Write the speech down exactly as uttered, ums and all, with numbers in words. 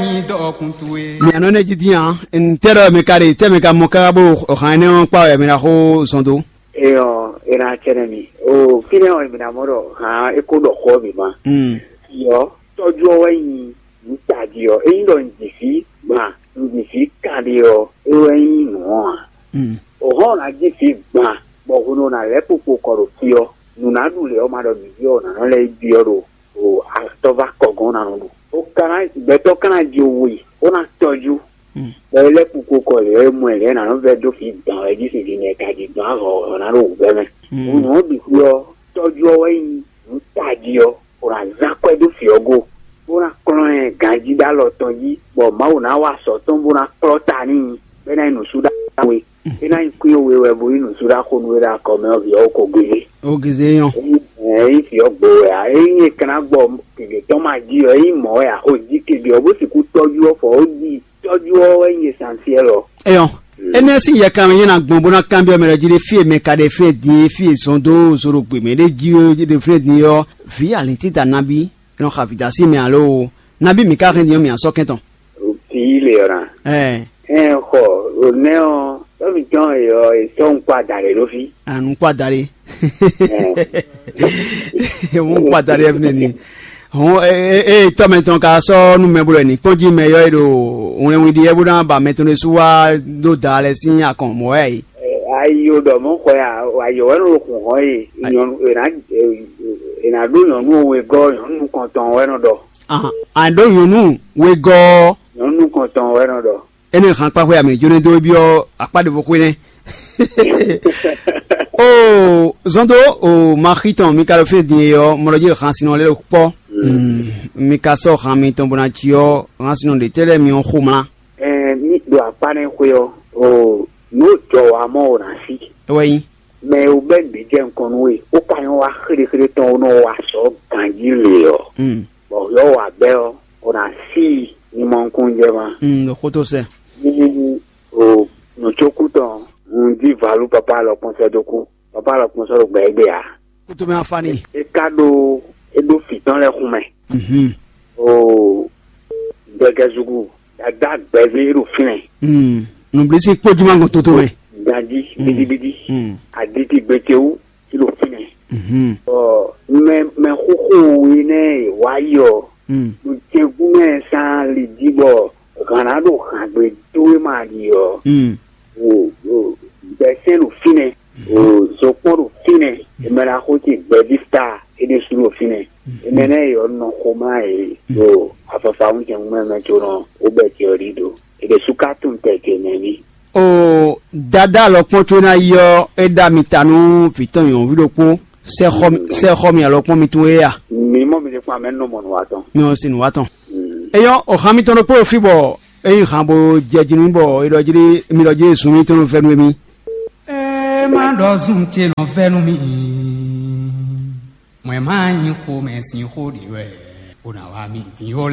Nyi dɔkun towe. Mia nɔ ne jí dín a? Ntɛ́ ɖɔ mi ka ɖe tɛ́ mi ka mɔ káká bó hǎn énɛ́ ɔ́ kpá wɛ mi ná xó zɔn dó. Eyɔ, ena tsɛnɛ mi. O fínɛ́ ɔ́, mi ná mɔ ɖɔ hǎn é kó ɖɔ xó ɔ́ bǐ ma. Mm. Yɔ, tɔ́jú ɔ́ wɛ nyi nǔ tají ɔ́. Ényí ɖɔ un ji fí gbɔn a, un ji fí kanɖé ɔ́, é wɛ nyí nǔ ɔ́ ǎ. Mm. O hɔn ɔ́ ná ji fí gbɔn a, bɔ hwenu ɔ́ ná lɛ́ kpokpo kɔ ɖo fí ɔ́, nǔ ná ɖu lě ɔ́ ma ɖɔ mǐ ɖi ɔ́, nǎ nɔ lɛ́ yi byɔ́ ɖo o atɔ́ vá kɔgɔn ná nɔ ɖu. Ó ka ná gbɛtɔ́ ka ná jó we, ó ná tɔjú. Bɔ é lɛ́ kpukpo kɔ lě ɔ́, é mɔ ɛ lě ɔ́, nǎ nɔ vɛ́ dó fí dǎn wɛ jí sin din mɛ ka jí dɔn ahɔ̌ ɔ́ ná ɖo wǔvɛ́ mɛ. Hǔn nǔ ɔ́ bǐ xwí ɔ́, tɔ́jú ɔ́ wɛ nyí nǔ tají ɔ́, bó ná zán akwɛ́ dó fǐ ɔ́ go, bó ná kplɔ́n ɛ ganjí ɖó alɔ tɔn jí, bɔ Mawu ná wa azɔ̌ tɔn bó ná kplɔ́ ta n'i, bɔ é ná nyí nǔsúɖawe. É ná nyí kwín we wɛ bó nyí nǔsúɖaxó nú we ɖo akɔ mɛ ɔ́, vǐ ɔ́ ko gégé. Ó gizé nyɔ́. Ényí vǐ ɔ́ gbo wɛ ǎ, ényí è ka ná gbɔ gěgé tɔn ma jí ɔ́, ényí mɔ̌ wɛ ǎ, xo jí kebí ɔ́, bó sixú tɔ́jú ɔ́ fɔ ó jí. Tɔ́jú ɔ́ wɛ nyí esansiɛ́l ɔ́. Eyɔn. Énɛ́ sín yɛkanlin nyí ná gbɔn bó ná kanbyɔ́ mɛ lɛ́ɛ jí ɖé fí e mɛ ka ɖe fí e din e fí e zɔn dó zo ɖo gbě mɛ ɖé jí é ɖe fí e din ɔ́, vǐ alǐntíta nabí, é nɔ xa vǐdásí mɛ alo nabí mǐ ka hɛn din ɔ́ mǐ á sɔ́ kɛn tɔn. Vǐ lě ɔ́ ná. Ɛɛ. Ɛn xɔ, ò nɛ́ ɔ́, tɔ́ mǐtɔn e ɔ́, è sɔ́ nukpó ada lě ɖó fí. Anukpó ada lě. Wọ́n kpata ɖe ɛfɛ ni. Hɔn, e e tɔmɛ tɔn ka sɔ numɛ bolo ni kpɔnji mɛ yɔ e ɖo wlɛnwi ɖi yɛ bó ná ba mɛ tɔn ɖésú wá ɖó da lɛ sín akɔn mɔ wɛ yi. Ayi o ɖɔ mɔ xɔ ya, ayi o wɛ nɔ kun hɔn ye, nyɔnu ena ena ɖó nyɔnu wegɔ, nyɔnu kɔntɔn wɛ nɔ ɖɔ. Ahan, a ɖó nyɔnu wegɔ. Nyɔnu kɔntɔn wɛ nɔ ɖɔ. Ene hàn kpa xwe ame jóne dó byɔ́ akpá ɖěvo xwe nɛ́. O zɔn dó o maxi tɔn mi ka ɖo fínɛ́ din e ɔ́, mɔ ɖɔ jí hàn sinɔ lɛ́ ɖo kpɔ́. Mi ka sɔ́ hàn mitɔn bó ná cí ɔ́, hàn sinɔ ɖě tɛ́ lɛ́ɛ mi ɔ́ xomlá. Ɛɛ, ní ɖo akpá nɛ́ xwe ɔ́, o nǔ jɔ wa mɔ o ná sí. É wɛ nyí. Mɛ e wú bɛ́ nǔɖé jɛ nukɔn nú we, ó ka nyɔ́ wá xéɖéxéɖé tɔn ó nɔ wá sɔ́ ganjí lě ɔ́, bɔ yɔ́ wǎ bɛ́ ɔ́, o ná sí i ní mɔ nukúnnú jɛ ma. Ɖo xótó sɛ. Ní o nǔcókú tɔn, un jí valú papá alɔkpɔ́n sɛ́ dó kú. Papá alɔkpɔ́n sɔ́ ɖo gbɛ égbé ǎ. Kútó mɛ afá ni. É ka ɖó é ɖó fǐ tɔn lɛ́ɛ xun mɛ. Mhm. O gbɛgɛzugu dada gbɛzé ɖo fínɛ́. Mm. Nǔblísí kpójú má gbɔn toto mɛ. Ganjí bidibidi. Mm. Aditi gbɛtɛwu ɖo fínɛ́. Mhm. Ɔ mɛ mɛ xóxó we nɛ wá yi ɔ. Mm. Ɖo jɛgún mɛ sán li jí bɔ hǎn ná ɖo hǎngbe dó wé ma ɖi ɔ. Mm. O o gbɛsɛn ɖo fínɛ́. O zokpɔn ɖo fínɛ́. Emɛ la xó ce gbɛví sta é ɖésú ɖo fínɛ́. Emɛ nɛ yɔ nɔ xomlá yě ɖo afafa ŋutɛn mɛ mɛ có nɔ wó bɛ ce ɔ́ ɖi ɖo. È ɖě sú ka tunwun tɛ ce mɛ ní. O dada alɔkpɔ́n có ná yi ɔ́, é ɖa mi ta nú vǐ tɔn nyɔ̌nuví ɖokpó. Sɛ́ xɔ mi- sɛ́ xɔ mi alɔkpɔ́n mitɔn é a? Mi mɔ mi ɖe kpɔ́n amɛ nɔ mɔ nǔ wa tɔn. Mi ɔ́ sin nǔ wa tɔn. Eyɔ́, o han mitɔn ɖokpó ɖo fí bɔ é nyí han bo jɛ jí nú bɔ é ɖɔ jí mi ɖɔ jí sun mitɔn nɔ vɛ́ nú émí. É má ɖɔ zun ce nɔ vɛ́ nú mì. Mɔ̌ ɛ má nyí xomɛ sín xó ɖě wɛ, bó ná wá mì dín ó lɛ́.